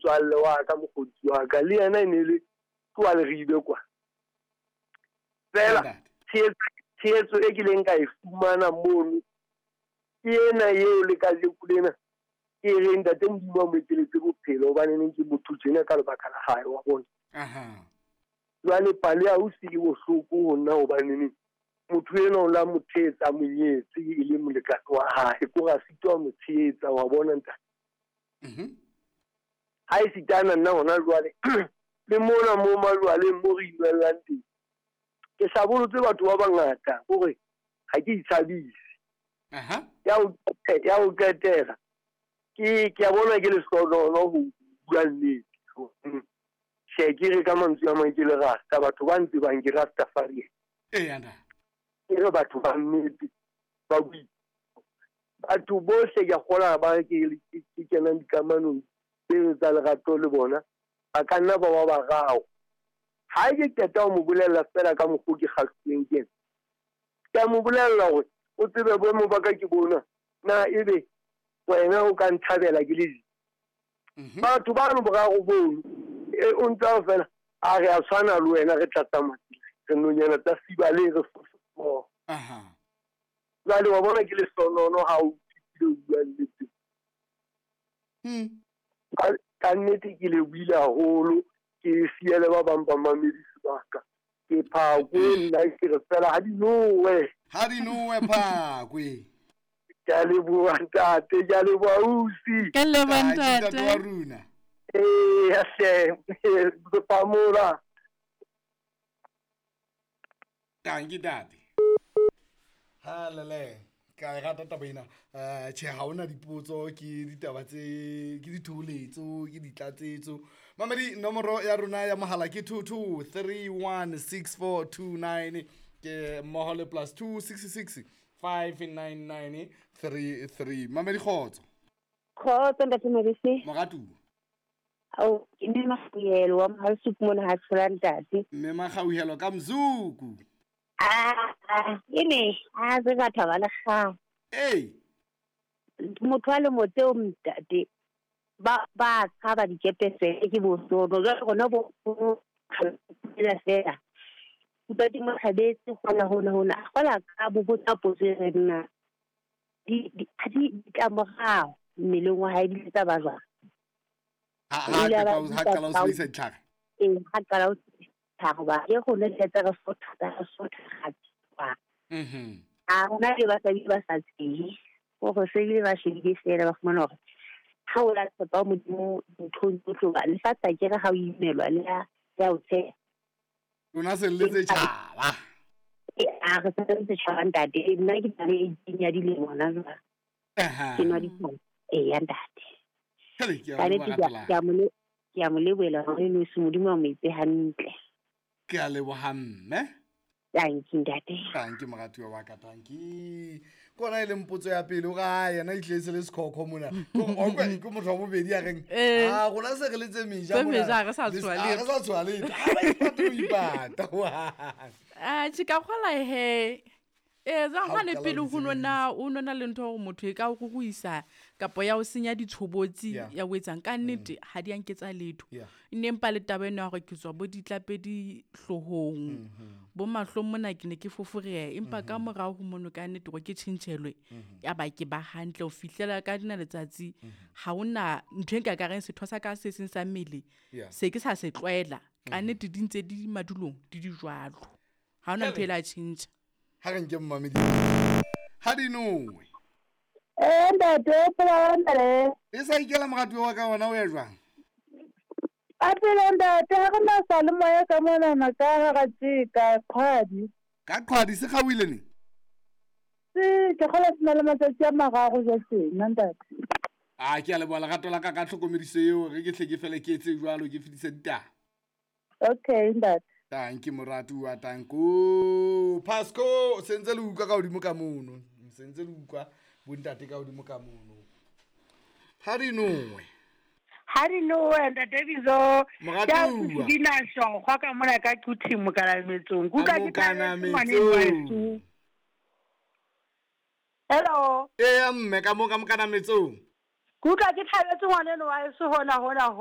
motswalle wa ka, mokgotsi wa ka, le yena e ne le ke wa Leribe kwa. Fela tshehetso e kileng ka e fumana mono ke ena eo le kajeko lena ke reng ntate Modimo a mo ekeletse bophelo, hobaneneng ke motho tjena ka lebaka la hae, wa bona. Jwale pale ya ausi e bohloko ho nna, hobaneneng motho enwa o la mo thetsa, a mo nyetse e le molekane wa hae, ko re a sitwa ho mo tshehetsa, wa bona ntate. Ha e sitana nna hona jwale le mona mo majwaleng mo re inwellang teng, ke hlabolotse batho ba bangata, kore ha ke itshabise. Ya ho qetela ke a bona ke lehlohonolo ho bua nnete. Tjhe, ke re ka mantswe a mang ke le rasta, batho ba ntsebang ke Rastafarian. Ke re batho ba nnete ba bui. Batho bohle ke a kgolwa ba ke kenang dikamanong tseo tsa lerato le bona, ba ka nna ba ba bararo. Ha ke qeta ho mo bolella feela ka mokgwa ke kgahlilweng ke ena, ke a mo bolella hore o tsebe boemo ba ka ke bona, na ebe wena o ka nthabela ke le batho bano boraro bono, o ntsa fela a re a tshwana le wena, re tla tsamaya re nonyana tsa siba le re fofo. Jwale wa bona ke lehlohonolo ha o fihlile o bua nnete. Ka nnete ke lebohile haholo, ke siele ba bang ba mamedi sebaka. Ke Phakwe nna, ke re fela ha di nowe. Ha di nowe Phakwe. Ke a leboha ntate, ke a leboha ausi. Ke leboha ntate. Wa rona. Ee, hle, re phamola. Tanki ntate. Ha lele, ka e rata taba ena. Tjhe, ha hona dipotso, ke ditaba tse, ke ditholetso, ke ditlatsetso. Mamedi, nomoro ya rona ya mohala ke 22316429, ke mmoho le +2 66 599 33. Mamedi, kgotso. Kgotso ntate Mabese. Moratuwa. Ao, ke mme Makgauhelo wa Mohalsuku mona ha tshola ntate. Mme Makgauhelo ka Mzuku. E ne, a se batho ba le kgang. Ee. Motho a le motseo ntate, ba tshaba dikepe fela ke bosono. Jwale rona bo fela fela. Ntate Mokgabetse hona hona hona, a kgola ka bo botsa potso e re nna. Di ditlamorao mmeleng wa hae di tsa ba jwang? Ha qala ho sebedisa ditlhare. Ee, ha qala ho ditlhare ba ke rona di tsa re sotha, re sotha ga. A rona le basadi ba sa tsebe, hore se bile ba shebile fela ba fumana hore ha o la tshepa Modimo nthong tsohle ba lefatshe a kere ha o imelwa le ya o tshepa. Lona se le setjhaba. A re se le setjhaba ntate, nna ke na le 18 ya dilemo hona jwale. Ke nwa ditlhare. Ee, ntate. Ke a mo lebohela hore eno se Modimo a mo etse hantle. Ke a leboha mme. Tanki ntate. Tanki moratuwa wa ka, tanki. Kona e leng potso ya pele, o re, ha yena e tletse le sekhokho mona. Ke motho wa bobedi a reng, a rona se re le tse meja mona. Tse meja, re sa tshoha letho. Re sa tshoha letho. Ha ba ipate ho ipata. Ah, tjhe, ka kgola he. Jwang hane pele ho nona, o nona le ntho hore motho e ka o ruruisa kapa ya o senya ditshobotsi ya o etsang. Ka nnete ha di a nketsa letho. Ne empa le taba ena ya hore ke tswa bo ditlapedi hloohong, bo mahlong mona ke ne ke foforeha, empa ka morao ho mono ka nnete hore ke tjhentjhelwe, ya ba ke ba hantle ho fihlela ka dina letsatsi. Ha hona ntho e nka ka reng setho sa ka se seng sa mmele se ke sa se tlwaela. Ka nnete di ntse di madulong di di jwalo. Ha hona ntho e la tjhentjha. Ha re nke mmamedi. Ha di nowe. Ntate, o phela hantle. E sa ikela moratuwa wa ka wona o ya jwang? A phela ntate, ha re na sa le moya ka monana ka hara tje ka qhwadi. Ka qhwadi se kgaohile neng? Se ke kgola se na le matsatsi a mararo jwa tjena ntate. A ke a leboha lerato la ka ka tlhokomediso eo, re ke hle ke fele ke etse jwalo, ke fetise ditaba. Okay ntate. Tanki moratuwa, tanko. Pasco, sentse le utlwa ka hodimo ka mono. Sentse le utlwa bontate ka hodimo ka mono. Ha di nowe. Ha di nowe ntate Bizo. Moratuwa. Ke dina shongwa ka mona ka Quthing mokalametsong. Kuka ke thabetse. Hello. Ee mme ka mo ka mokanametsong. Kuka ke thabetse ngwaneno wa heso hona hona ho.